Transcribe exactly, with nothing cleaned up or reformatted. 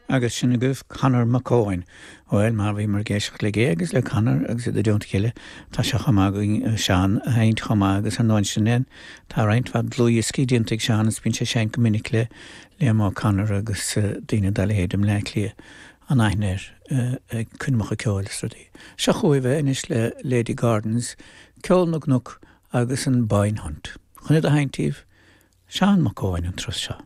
Agus sin agaibh Conor Mac Eoin. Well mar bhíomar ag éisteacht le Gay agus le Conor agus iad i dteannta a chéile tá sé chomh maith againn Seán a sheinnt chomh maith agus ar ndóigh sin é tá roinnt mhaith dlúthdhioscaí déanta ag Seán is bíonn sé seinnt go minic le Liam O'Connor agus daoine dá leithéid i mBleá Cliath an aithne air ag coirmeacha ceoil is rudaí. Seo chugaibh é anois le Lady Gordons, Ceol na gCnoc agus an Boyne Hunt. Chun iad a sheinnt daoibh Seán Mac Eoin an turas seo.